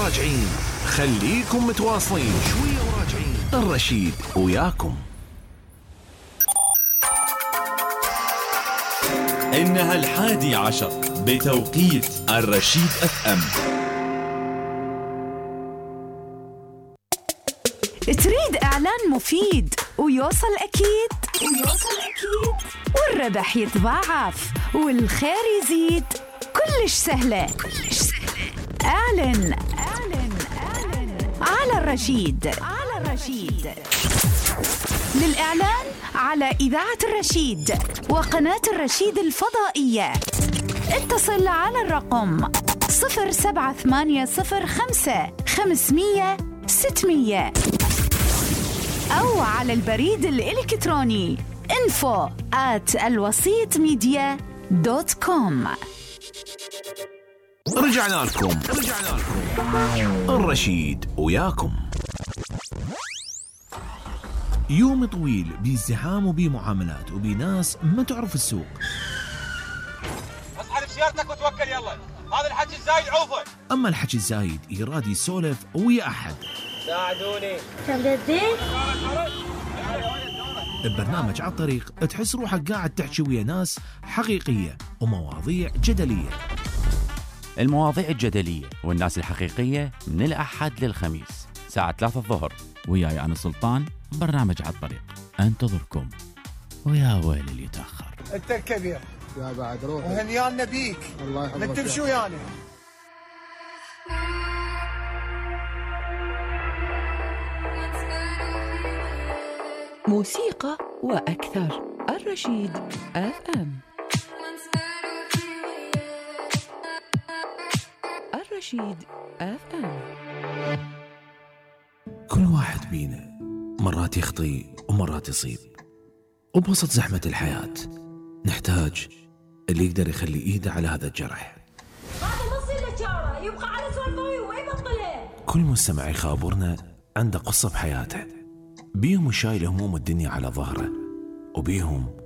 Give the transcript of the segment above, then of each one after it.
وراجعين، خليكم متواصلين شوية وراجعين. الرشيد وياكم. إنها 11 بتوقيت الرشيد FM. تريد إعلان مفيد ويوصل أكيد والربح يتضاعف والخير يزيد، كلش سهلة. اعلن على الرشيد. للإعلان على إذاعة الرشيد وقناة الرشيد الفضائية اتصل على الرقم 07805 أو على البريد الإلكتروني info@alwasitmedia.com. رجعنا لكم. الرشيد وياكم. يوم طويل بازدحام وبمعاملات وبناس ما تعرف السوق. اصحى بسيارتك وتوكل يلا، هذا الحكي الزايد عوفه. اما الحكي الزايد يراد يسولف ويا احد. ساعدوني. ببرنامج على الطريق تحس روحك قاعد تحكي ويا ناس حقيقية ومواضيع جدلية. المواضيع الجدلية والناس الحقيقية من الأحد للخميس ساعة 3 الظهر، وياي أنا سلطان. برنامج على الطريق انتظركم، ويا ويل اللي يتأخر. انت الكبير يا بعد روح وهنيانا بيك. الله يحفظك. نكتب شو يعني؟ موسيقى وأكثر. الرشيد FM. الرشيد FM. كل واحد بينا مرات يخطي ومرات يصيب، وبوسط زحمة الحياة نحتاج اللي يقدر يخلي ايده على هذا الجرح. هذا نص النجارة يبقى على سوالفه وين بطله. كل مستمع يخابرنا عنده قصة بحياته، بيهم شايل هموم الدنيا على ظهره، وبيهم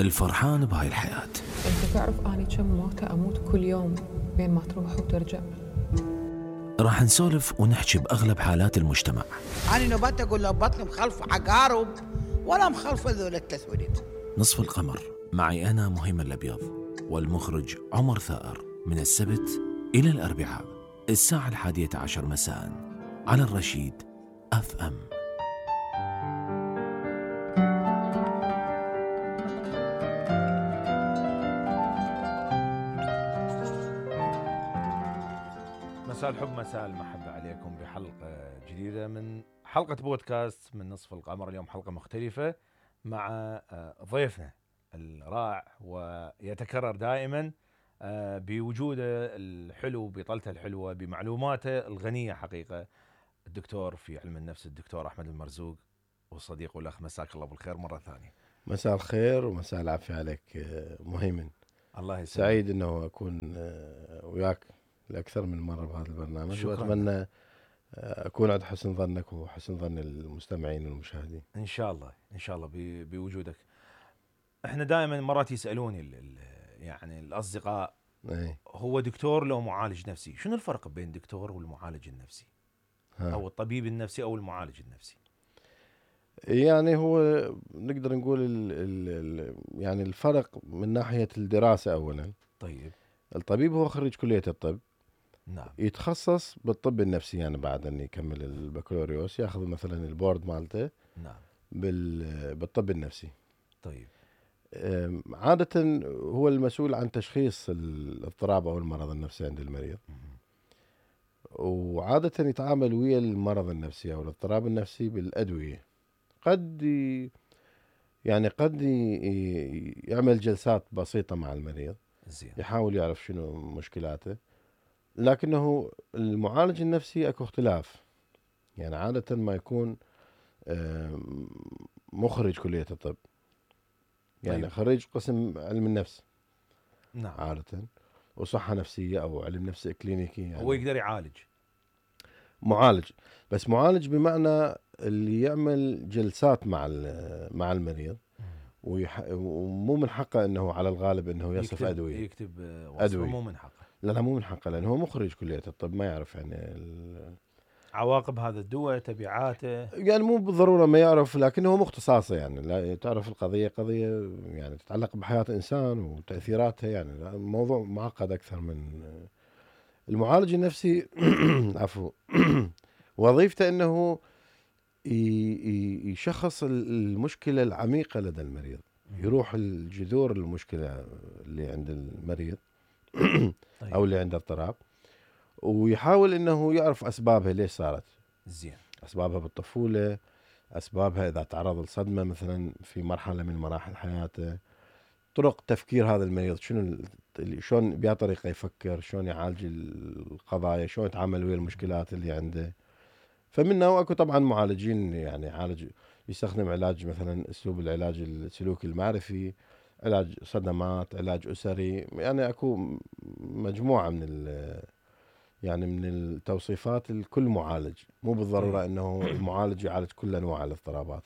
الفرحان بهاي الحياة. انت تعرف اني كم موتة اموت كل يوم بين ما تروح وترجع. راح نسولف ونحكي بأغلب حالات المجتمع. أنا نبات أقول له بطني مخلفة عقارب ولا مخلفة ذول التسوليد. نصف القمر معي أنا مهيمن الأبيض والمخرج عمر ثائر، من السبت إلى الأربعاء الساعة 11 مساء على الرشيد FM. مساء الحب، مساء المحبة عليكم بحلقة جديدة من حلقة بودكاست من نصف القمر. اليوم حلقة مختلفة مع ضيفنا الرائع ويتكرر دائما بوجوده الحلو، بطلته الحلوة، بمعلوماته الغنية حقيقة، الدكتور في علم النفس الدكتور أحمد المرزوق، والصديق والأخ. مساك الله بالخير مرة ثانية. مساء الخير ومساء العافية عليك مهيمن. الله يسلمك. سعيد أنه أكون وياك لأكثر من مرة بهذا البرنامج، وأتمنى أكون عند حسن ظنك وحسن ظن المستمعين والمشاهدين. إن شاء الله إن شاء الله بوجودك. إحنا دائما مرات يسألوني يعني الأصدقاء، هو دكتور لو معالج نفسي؟ شنو الفرق بين دكتور والمعالج النفسي أو الطبيب النفسي أو المعالج النفسي؟ يعني هو نقدر نقول يعني الفرق من ناحية الدراسة أولا. طيب. الطبيب هو خريج كلية الطب، نعم، يتخصص بالطب النفسي، يعني بعد أن يكمل البكالوريوس يأخذ مثلا البورد مالته. نعم. بالطب النفسي. طيب. عادة هو المسؤول عن تشخيص الاضطراب أو المرض النفسي عند المريض، وعادة يتعامل ويا المرض النفسي أو الاضطراب النفسي بالأدوية. قد يعمل جلسات بسيطة مع المريض، زين، يحاول يعرف شنو مشكلاته. لكنه المعالج النفسي اكو اختلاف، يعني عادة ما يكون مخرج كلية الطب، يعني طيب. خريج قسم علم النفس. نعم. عادة وصحة نفسية أو علم نفس كلينيكي، يعني هو يقدر يعالج. معالج، بس معالج بمعنى اللي يعمل جلسات مع المريض، ومو من حقه انه على الغالب انه يصف ادويه، يكتب وصفه، مو من حقه. لا مو من حقه، لأنه هو مخرج كلية الطب، ما يعرف يعني عواقب هذا الدواء، تبعاته، يعني مو بالضرورة ما يعرف، لكنه هو مختصاصه يعني. لا تعرف القضية قضية يعني تتعلق بحياة إنسان وتأثيراتها، يعني الموضوع معقد أكثر من المعالج النفسي. عفوا. وظيفته أنه يشخص المشكلة العميقة لدى المريض، يروح الجذور المشكلة اللي عند المريض أو اللي عنده اضطراب، ويحاول أنه يعرف أسبابها ليش صارت. زين. أسبابها بالطفولة، أسبابها إذا تعرض لصدمة مثلا في مرحلة من مراحل حياته، طرق تفكير هذا المريض، شلون بيا طريقة يفكر، شلون يعالج القضايا، شلون يتعامل ويا المشكلات اللي عنده. فمنه واكو طبعا معالجين يعني يستخدم علاج مثلا اسلوب العلاج السلوكي المعرفي، علاج صدمات، علاج اسري، يعني اكو مجموعه من التوصيفات لكل معالج. مو بالضروره انه المعالج يعالج كل انواع الاضطرابات.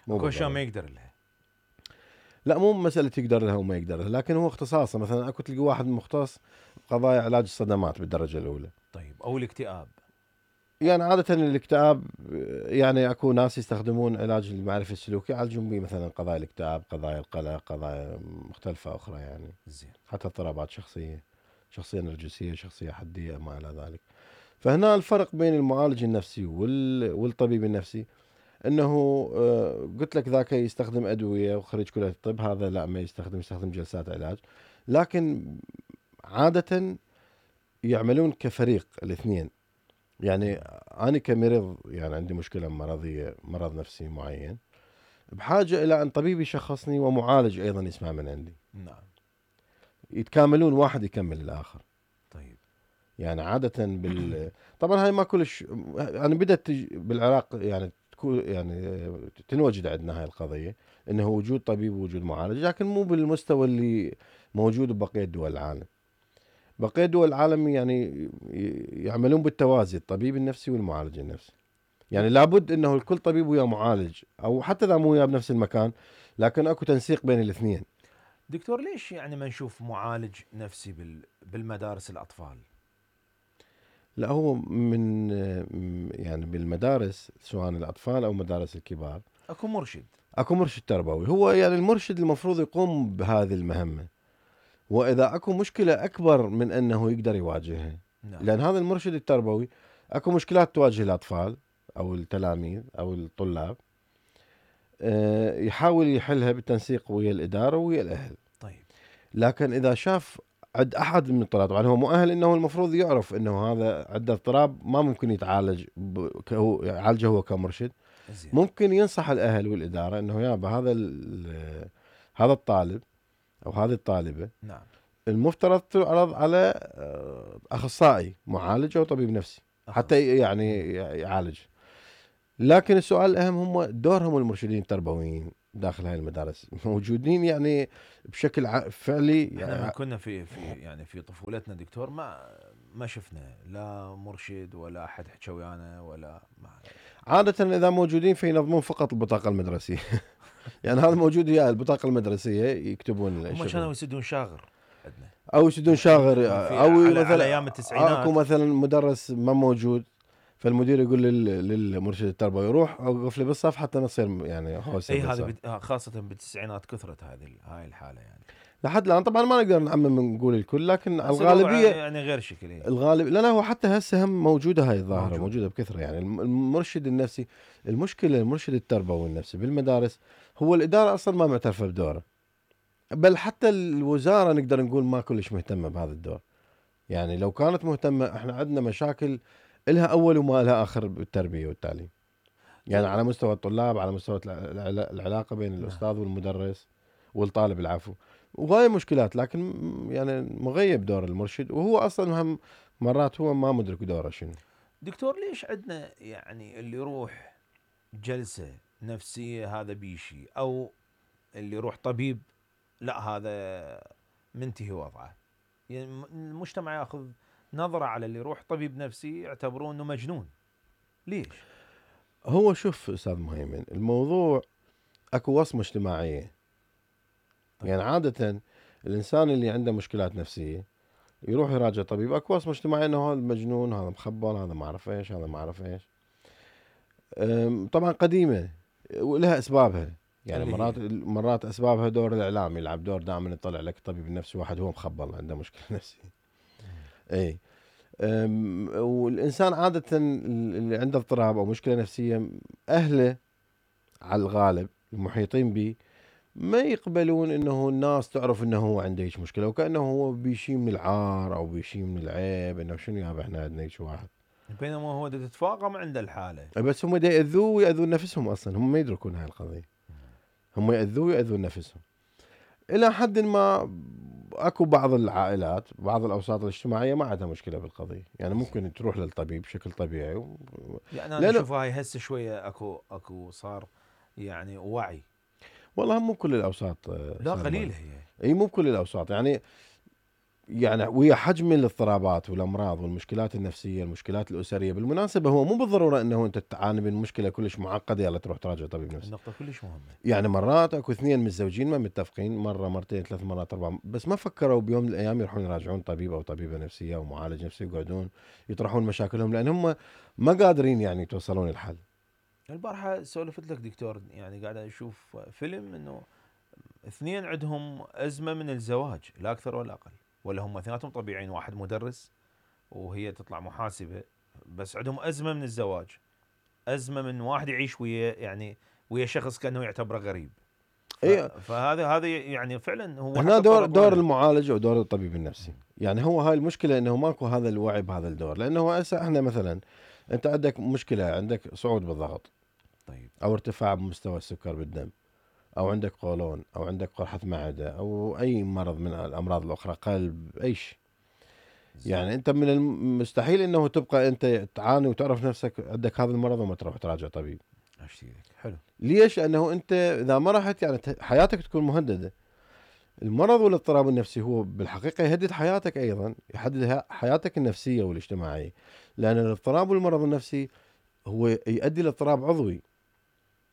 اكو اشياء ما يقدر لها. لا مو مساله يقدر لها وما يقدر لها، لكن هو اختصاصه. مثلا اكو تلقى واحد مختص بقضايا علاج الصدمات بالدرجه الاولى. طيب او الاكتئاب. يعني عادة الاكتئاب يعني اكو ناس يستخدمون علاج المعرفي السلوكي يعالجون به مثلا قضايا الاكتئاب، قضايا القلق، قضايا مختلفة أخرى يعني. زين. حتى اضطرابات شخصية نرجسية، شخصية حدية، ما إلى ذلك. فهنا الفرق بين المعالج النفسي والطبيب النفسي أنه قلت لك ذاك يستخدم أدوية وخريج كلية الطب، هذا لا ما يستخدم جلسات علاج، لكن عادة يعملون كفريق الاثنين. يعني أنا كمريض يعني عندي مشكلة مرضية، مرض نفسي معين، بحاجة إلى أن طبيب يشخصني ومعالج أيضا يسمع من عندي. نعم. يتكاملون، واحد يكمل الآخر. طيب. يعني عادة طبعا هاي ما كلش يعني بدأت بالعراق يعني تنوجد عندنا هاي القضية، إنه وجود طبيب ووجود معالج، لكن مو بالمستوى اللي موجود ببقية دول العالم. بقية دول العالم يعني يعملون بالتوازي، الطبيب النفسي والمعالج النفسي. يعني لابد انه الكل طبيب ويا معالج، او حتى اذا مو وياه بنفس المكان، لكن اكو تنسيق بين الاثنين. دكتور ليش يعني ما نشوف معالج نفسي بالمدارس الاطفال؟ لا هو من يعني بالمدارس سواء الاطفال او مدارس الكبار اكو مرشد تربوي. هو يعني المرشد المفروض يقوم بهذه المهمة، وإذا أكو مشكلة أكبر من أنه يقدر يواجهها. نعم. لأن هذا المرشد التربوي أكو مشكلات تواجه الأطفال أو التلاميذ أو الطلاب، يحاول يحلها بالتنسيق ويا الإدارة ويا الأهل. طيب. لكن إذا شاف عند أحد من الطلاب، طبعا هو مؤهل أنه المفروض يعرف أنه هذا عنده اضطراب ما ممكن يتعالج يعالجه هو كمرشد. زين. ممكن ينصح الأهل والإدارة أنه يابا هذا الطالب أو هذه الطالبة، نعم، المفترض تعرض على أخصائي معالج أو طبيب نفسي حتى يعني يعالج. لكن السؤال الأهم هم دورهم المرشدين التربويين داخل هاي المدارس موجودين يعني بشكل فعلي. احنا كنا في طفولتنا دكتور ما شفنا لا مرشد ولا أحد حكى ويانا ولا عادة إذا موجودين فينظمون فقط البطاقة المدرسية. يعني هذا موجود وياه البطاقة المدرسية يكتبون هم كانوا يسدون شاغر عندنا أو يسدون شاغر أو على أيام التسعينات. أكو مثلا مدرس ما موجود، فالمدير يقول للمرشد التربوي روح اوقف لي بالصف حتى نصير يعني اي هذه خاصة بالتسعينات كثرت هاي الحالة يعني لحد الآن. طبعا ما نقدر نعمم نقول الكل، لكن الغالبية يعني غير شكل. الغالب لا هو حتى هسه هم موجودة هاي الظاهرة موجودة بكثرة. يعني المرشد النفسي، المشكلة المرشد التربوي النفسي بالمدارس هو الإدارة أصلا ما معترفة بدوره، بل حتى الوزارة نقدر نقول ما كلش مهتمة بهذا الدور. يعني لو كانت مهتمة، احنا عندنا مشاكل إلها أول وما لها آخر بالتربية والتعليم، يعني على مستوى الطلاب، على مستوى العلاقة بين الأستاذ والمدرس والطالب العفو، وهاي مشكلات. لكن يعني مغيب دور المرشد، وهو أصلا هم مرات هو ما مدرك دوره شنو. دكتور ليش عندنا يعني اللي يروح جلسة نفسية هذا بيشي، أو اللي يروح طبيب لا هذا منتهي وضعه؟ يعني المجتمع ياخذ نظرة على اللي يروح طبيب نفسي يعتبروه انه مجنون. ليش؟ هو شوف استاذ مهيمن، الموضوع اكو وصمة اجتماعية. طيب. يعني عادة الانسان اللي عنده مشكلات نفسية يروح يراجع طبيب. اكو وصمه اجتماعيه انه هذا مجنون، هذا مخبل، هذا ما اعرف ايش، هذا ما اعرف ايش. طبعا قديمه ولها اسبابها، يعني مرات اسبابها دور الاعلام يلعب دور، دائما يطلع لك الطبيب النفسي واحد هو مخبل عنده مشكله نفسيه. اي والانسان عاده اللي عنده اضطراب او مشكله نفسيه اهله على الغالب المحيطين به ما يقبلون انه الناس تعرف انه هو عنده هيك مشكله، وكانه هو بيشي من العار او بيشي من العيب، انه شنو يابا احنا عندنا هيك واحد، بينما هو تتفاقم عنده الحاله. بس هم يأذوه ويأذون نفسهم، اصلا هم ما يدركون هاي القضيه، هم يأذوه ويأذون نفسهم. الى حد ما اكو بعض العائلات، بعض الاوساط الاجتماعيه ما عندها مشكله بالقضيه، يعني ممكن تروح للطبيب بشكل طبيعي يعني انا اشوف هاي هسه شويه اكو صار يعني وعي. والله مو كل الاوساط، لا قليله هي، اي مو كل الاوساط، يعني ويا حجم الاضطرابات والامراض والمشكلات النفسيه، المشكلات الاسريه، بالمناسبه هو مو بالضروره انه انت تعاني من مشكله كلش معقده يلا تروح تراجع طبيب نفسي. النقطه كلش مهمه. يعني مرات اكو اثنين متزوجين ما متفقين، مره مرتين ثلاث مرات اربع، بس ما فكروا بيوم من الايام يروحون يراجعون طبيب او طبيبه نفسيه او معالج نفسي، يقعدون يطرحون مشاكلهم لان هم ما قادرين يعني يتوصلون الحل. البارحه سولفت لك دكتور، يعني قاعد اشوف فيلم انه اثنين عندهم ازمه من الزواج، لا اكثر ولا اقل، ولا هم اثنيناتهم طبيعيين، واحد مدرس وهي تطلع محاسبه، بس عندهم ازمه من الزواج، ازمه من واحد يعيش ويا شخص كانه يعتبره غريب. فهذا يعني فعلا هو هنا دور المعالج او دور الطبيب النفسي. يعني هو هاي المشكله انه ماكو هذا الوعي بهذا الدور، لانه هسه احنا مثلا انت عندك مشكله، عندك صعود بالضغط، طيب، او ارتفاع بمستوى السكر بالدم، او عندك قولون، او عندك قرحه معده، او اي مرض من الامراض الاخرى، قلب، اي شيء. يعني انت من المستحيل انه تبقى انت تعاني وتعرف نفسك عندك هذا المرض وما تروح تراجع طبيب. حلو. ليش؟ لانه انت اذا ما رحت يعني حياتك تكون مهدده. المرض والاضطراب النفسي هو بالحقيقه يهدد حياتك ايضا، يحدد حياتك النفسيه والاجتماعيه، لان الاضطراب والمرض النفسي هو يؤدي لاضطراب عضوي.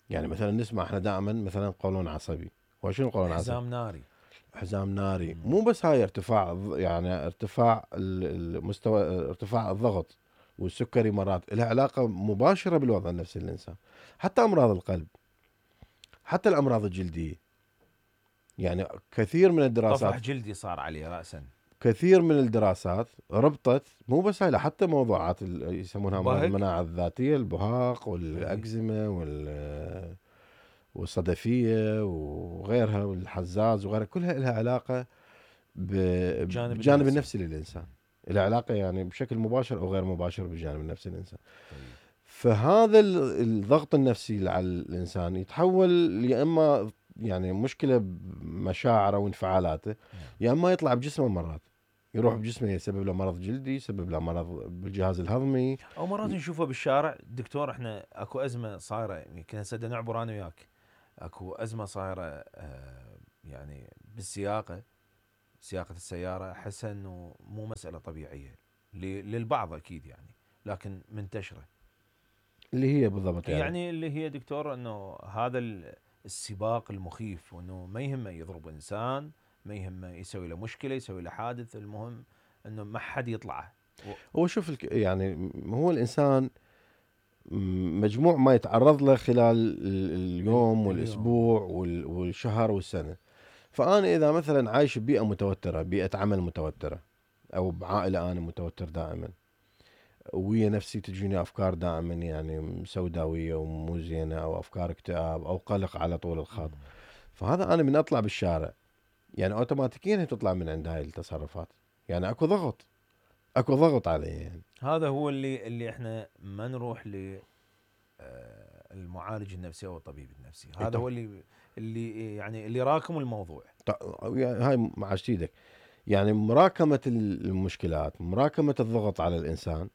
يعني مثلا نسمع احنا دائما مثلا قولون عصبي، وشنو قولون عصبي؟ حزام ناري. حزام ناري. مو بس هاي ارتفاع، يعني ارتفاع المستوى، ارتفاع الضغط والسكري مرات لها علاقه مباشره بالوضع النفسي للانسان. حتى امراض القلب، حتى الامراض الجلديه، يعني كثير من الدراسات، طفح جلدي صار عليه راسا، كثير من الدراسات ربطت مو بس هاي، حتى موضوعات يسمونها امراض المناعه الذاتيه، البهاق والاكزيما والصدفيه وغيرها والحزاز وغيرها، كلها لها علاقه بالجانب النفسي للانسان، لها علاقه يعني بشكل مباشر او غير مباشر بالجانب النفسي للانسان. فهذا الضغط النفسي على الانسان يتحول يا اما يعني مشكله بمشاعره وانفعالاته، يا اما يطلع بجسمه، مرات يروح بجسمه يسبب له مرض جلدي، يسبب له مرض بالجهاز الهضمي، او مرات نشوفه بالشارع. دكتور احنا اكو ازمه صايره، يمكن هسه نعبر انا وياك، اكو ازمه صايره يعني بالسياقه، سياقه السياره، احس انه مو مساله طبيعيه للبعض اكيد يعني، لكن منتشره. اللي هي بالضبط يعني اللي هي دكتور انه هذا السباق المخيف، وانه ما يهمه يضرب انسان، ما يهمه يسوي له مشكله، يسوي له حادث، المهم انه ما حد يطلعه. هو شوف يعني هو الانسان مجموع ما يتعرض له خلال اليوم والاسبوع والشهر والسنه. فانا اذا مثلا عايش ببيئه متوتره، بيئه عمل متوتره، او بعائله انا متوتر دائما، ويا نفسي تجيني افكار دائما يعني سوداويه ومو زينه، او افكار اكتئاب او قلق على طول الخط، فهذا انا من اطلع بالشارع يعني اوتوماتيكيا تطلع من عند هاي التصرفات، يعني اكو ضغط عليه. يعني هذا هو اللي احنا ما نروح للمعالج النفسي او الطبيب النفسي، هذا هو اللي يعني اللي راكم الموضوع. هاي مع ايدك، يعني مراكمه المشكلات، مراكمه الضغط على الانسان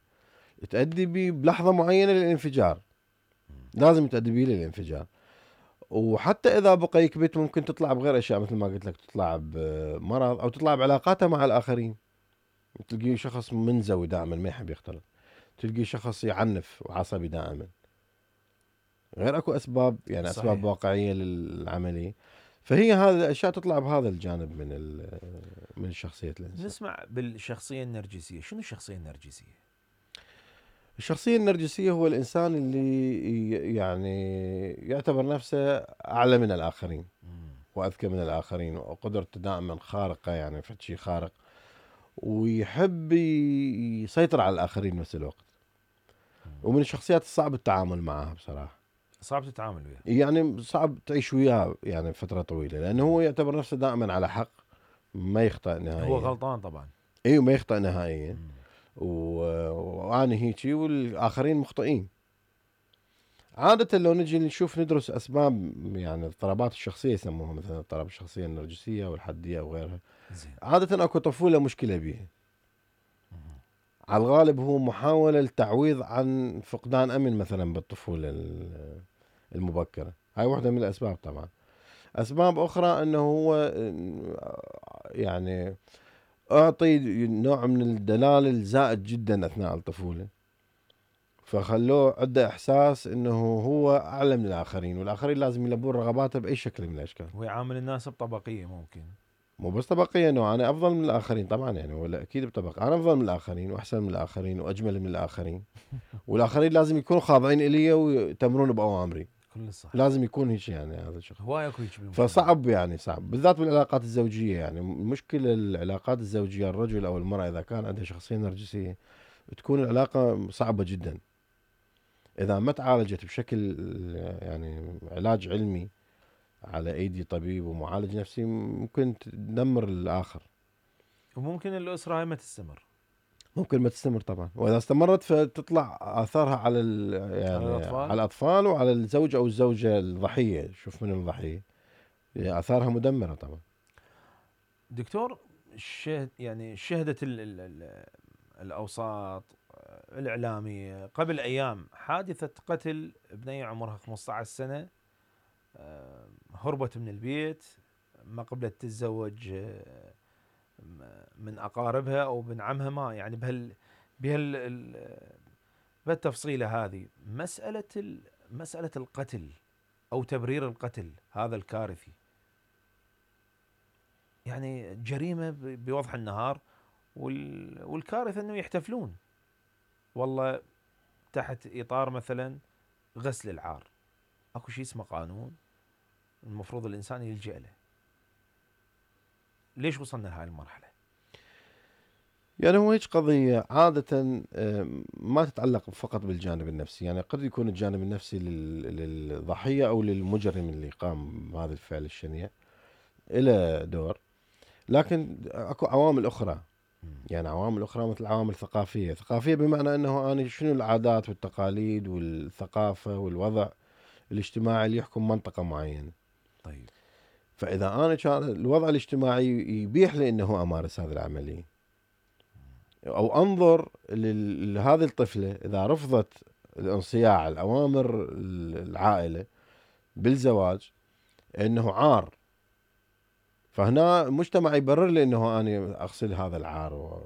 تؤدي بلحظه معينه للانفجار، لازم تؤدي به للانفجار. وحتى اذا بقى يكبت ممكن تطلع بغير اشياء، مثل ما قلت لك تطلع بمرض او تطلع بعلاقاته مع الاخرين. تلقي شخص منزوي دائما ما يحب يختلط، تلقي شخص يعنف وعصبي دائما، غير اكو اسباب يعني صحيح. اسباب واقعيه للعمليه. فهي هذه الاشياء تطلع بهذا الجانب من شخصيه الانسان. نسمع بالشخصيه النرجسيه، شنو الشخصيه النرجسيه؟ الشخصيه النرجسيه هو الانسان اللي يعني يعتبر نفسه اعلى من الاخرين واذكى من الاخرين وقدرته دائما خارقه، يعني في شيء خارق، ويحب يسيطر على الاخرين بنفس الوقت. ومن الشخصيات الصعب التعامل معها بصراحه. صعب تتعامل وياه، يعني صعب تعيش وياه يعني فتره طويله، لانه هو يعتبر نفسه دائما على حق، ما يخطئ نهائيا. هو غلطان طبعا. ايوه ما يخطئ نهائيا. وانا هيجي والاخرين مخطئين. عادة لو نجي نشوف ندرس اسباب يعني اضطرابات الشخصيه يسموها مثلا اضطراب الشخصيه النرجسيه والحديه وغيرها. عادة اكو طفوله مشكله بيها. على الغالب هو محاوله للتعويض عن فقدان امن مثلا بالطفوله المبكره، هاي واحده من الاسباب. طبعا اسباب اخرى انه هو يعني اعطي نوع من الدلال الزائد جدا اثناء الطفوله، فخلوه عنده احساس انه هو اعلى من الاخرين، والاخرين لازم يلبون رغباته باي شكل من الاشكال. ويعامل الناس بطبقيه، ممكن مو بس طبقيه، انه انا افضل من الاخرين طبعا، يعني ولا اكيد بطبقه انا افضل من الاخرين واحسن من الاخرين واجمل من الاخرين والاخرين لازم يكونوا خاضعين الي ويتمرون باوامري. كل صح. لازم يكون هيك يعني هذا الشخص. هواي اكو هيك. فصعب يعني صعب بالذات بالعلاقات الزوجيه. يعني مشكله العلاقات الزوجيه الرجل او المراه اذا كان عنده شخصيه نرجسيه تكون العلاقه صعبه جدا. اذا ما تعالجت بشكل يعني علاج علمي على ايدي طبيب ومعالج نفسي ممكن تدمر الاخر. وممكن الاسره هاي ما تستمر. ممكن ما تستمر طبعا، واذا استمرت فتطلع اثارها على يعني على الاطفال وعلى الزوج او الزوجه الضحيه. شوف من الضحيه اثارها مدمره طبعا. دكتور، يعني شهدت الاوساط الاعلاميه قبل ايام حادثه قتل بنيه عمرها 15 سنه، هربت من البيت، ما قبلت تتزوج من اقاربها او بن عمها، ما يعني بهالتفصيله هذه. مساله القتل او تبرير القتل هذا الكارثي، يعني جريمه بوضح النهار، والكارثه انه يحتفلون والله تحت اطار مثلا غسل العار. اكو شيء اسمه قانون المفروض الانسان يلجأ له. ليش وصلنا لهاي المرحله؟ يعني هو هيك قضيه عاده ما تتعلق فقط بالجانب النفسي، يعني قد يكون الجانب النفسي للضحيه او للمجرم اللي قام بهذا الفعل الشنيع له دور، لكن اكو عوامل اخرى. يعني عوامل اخرى مثل عوامل ثقافيه بمعنى انه انا شنو العادات والتقاليد والثقافه والوضع الاجتماعي اللي يحكم منطقه معينه. طيب فاذا انا كان الوضع الاجتماعي يبيح لي انه امارس هذه العمليه، او انظر لهذه الطفله اذا رفضت الانصياع الاوامر العائله بالزواج انه عار، فهنا المجتمع يبرر لي انه انا اغسل هذا العار